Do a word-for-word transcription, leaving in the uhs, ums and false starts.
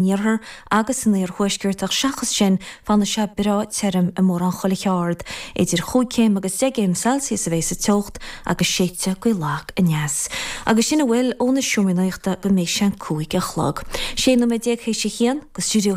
iarthar agus san iarthuaisceart ach seachas sin fanfaidh sé breá tirim i mórán chuile cheard. Idir chúig chéim agus deich gcéim Celsius a bheidh sa teocht agus séidfidh gaoth lag aneas. Agus sin a bhfuil ó na seomraí nuachta go mbeidh sé an cúig a chlog. Sé nóiméad déag théis a haon go stiúideo